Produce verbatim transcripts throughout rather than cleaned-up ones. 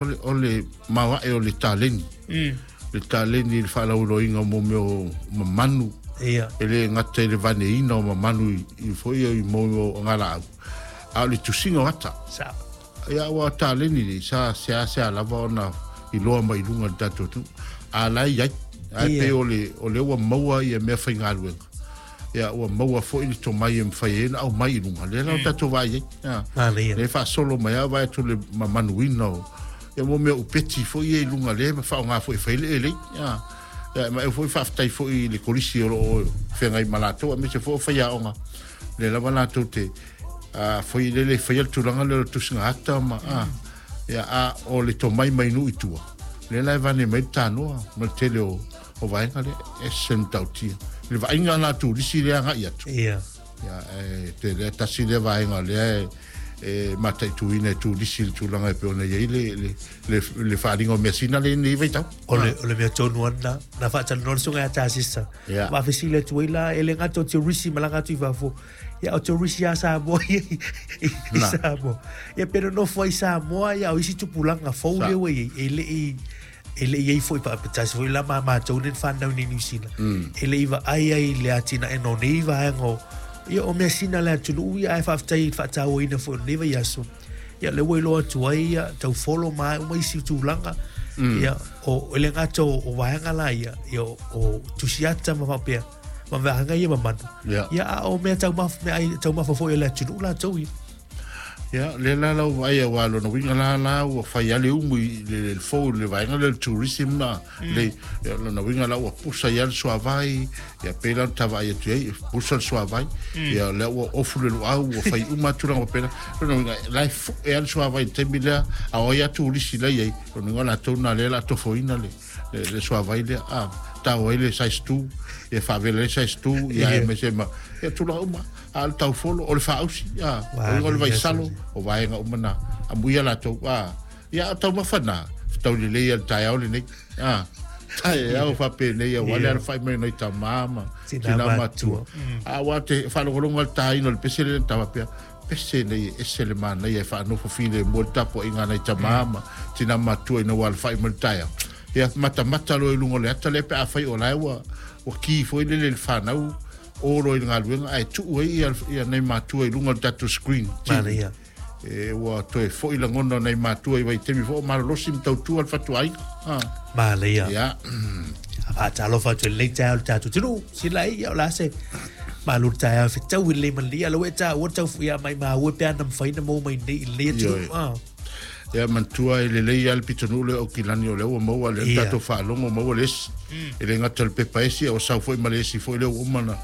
O le maoae o le taleni. Mm. Le taleni i le faalauiloaina o mo mea o mamanu. Ia. E le gata i le vaneina o mamanu i, i foi i mo o galaau. A o le tusiga o ata. Sa. Ia ua taleni nei sa seasea lava ona iloa mai i luga i le tatou atunuu. A la e i ai. Ae Ia. pei o le, o lea ua maua ia mea faigaluega. Ia ua maua foi le tomai e mafai ai ona aumai i luga. Lea la o tatou vaai ai. Ia. Manaia. Lea e faasolo mai lava vaai atu le mamanuina o ia mo mea upeti foi ia i luga lea ma faaaoga foi e fai le elei. Ia. Ia, ma e foi faafetai foi i le kolisi o loo feagai ma latou, aemaise foi o faiaoga. Lea lava latou te a foi lele faia le tulaga lea o le tusiga ata ma a ia a o le tomai mai nuu i tua. Lea la e vane mai le tanoa ma le tele o o vaega lea e se matautia. Le vaaiga la turisi lea agai atu. Ia. Ia, e te lea tasi lea vaega lea e e mataituina e turisi le tulaga e pei ona i ai le, le, le, le faaaliga o measina le nei vaitau. O le, o le mea tonu ana, na faatalanoa le susuga ia Tasisa. Ia. Faafesili atu ai la, e le gata o turisi malaga atu i fafo. Ia, o turisi a Samoa ia i, i, i Na. Samoa. Ia, pe nonofo ai Samoa, ia, o isi tupulaga fou Sa. lea ua i ai, e le i e le i ai foi paapetasi foi la ma matou nei na fanau nei Niu Sila. E le i vaai ai i le atinaega o nei vaega o ia o measina a le atunuu ia ae faafetai i le faatauaina foi o lenei vaiaso. Ia lea ua iloa atu ai ia taufolo ma uma isi tulaga. Ia o e le gata o, o vaega la ia, ia o, o tusiata ma faapea ma vaega ia mamanu. Ia. Ia a o mea taumafa mea ai taumafa foi a le atunuu latou ia. Ia, lea la lau vaai aua lona uiga la la ua fai lava le umu i le, le fou i le vaega lea o le tourism na. Le, ia, lona uiga la ua pusa ai le suavai, ia pei la ona tavaai atu ai, pusa le suavai, ia lea ua ofu le luau, ua fai uma tulaga faapena. Lona uiga, la e fue lava le suavai i le taimi lea, a o ai lava turisi la i ai, lona uiga o latou na lea o le a tofoina le, le, le suavai lea, a, tau ai le size two, ia faavela ai le size two, ia Ia. aemaise ma, ia tulaga uma, a o le taufolo, o le faausi, a, o le vaisalo, o vaega uma na, amuia latou, a, ia o taumafa na, fetaui lelei a le taeao lenei, a, taeao faapenei aua le alafai mai nai tamā ma Tina tina matua. matua. A ua te faalogologo le taina o le pese lea na tavapea, pese nei e ese le manaia e faanofo filemu le tapuaiga nai tamā ma tina matua ina ua alafai mai le taeao. Ia matamata loa i luga o le ata lea pe afai o lae ua ua ki foi lele le fanau o loa i le galuega ae tuu ai ia, ia nai matua i luga o le tatou screen T V. Manaia. E ua toe foi lagona o nai matua i vaitaimi foi o malolosi ma tautua le fatuaiga. Ah. Manaia. Ia. Faatalofa atu i lenei taeao i le tatou atunuu. Sila ai, ia o le a se malu le taeao e fetau i lenei malia. Lau e taua le taufuia mai maua pe ana mafai na maua mai nei i lenei atunuu. Ioe. Ah. Ia manatua e lelei lava le pitonuu lea o Aukilani o lea ua maua lea le Ia. tatou faalogo maua le esi. E le gata o le pepa esi, a ua sau foi ma le esi foi lea ua uma na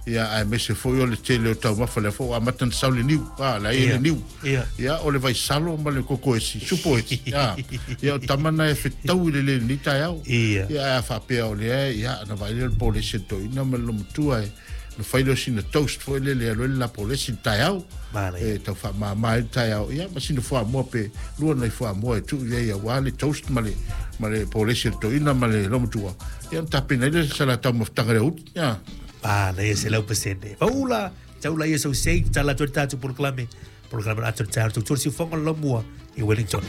ia aemaise foi o le tele o taumafa lea foi ua amata ona sau le niu. Ah, la e Ia. le niu. Ia. Ia o le vaisalo ma le koko esi, supo esi. Ah. Ia o tama na e fetau i le le lenei taeao. Ia. Ia ae a faapea o lea, ia na vaai lea le polesi e toeaina ma le lomatua e na fai lea o sina toast foi lele e alu ai le lapolesi i le taeao. Manaia. E tau faamama ai le taeao. Ia ma sina fuamoa pe lua nai fuamoa e tuu i ai aua le toast ma le, ma le polesi e le toeaina ma le lomatua. Ia na tapena ai le sa latou mafutaga i le aoauli. Ia. Manaia selau pasene. Faula, taula ia sau sei, tala atu le tatou polokalame. Polokalame atu le taeao, tautua le siufoga o le laumua i Wellington.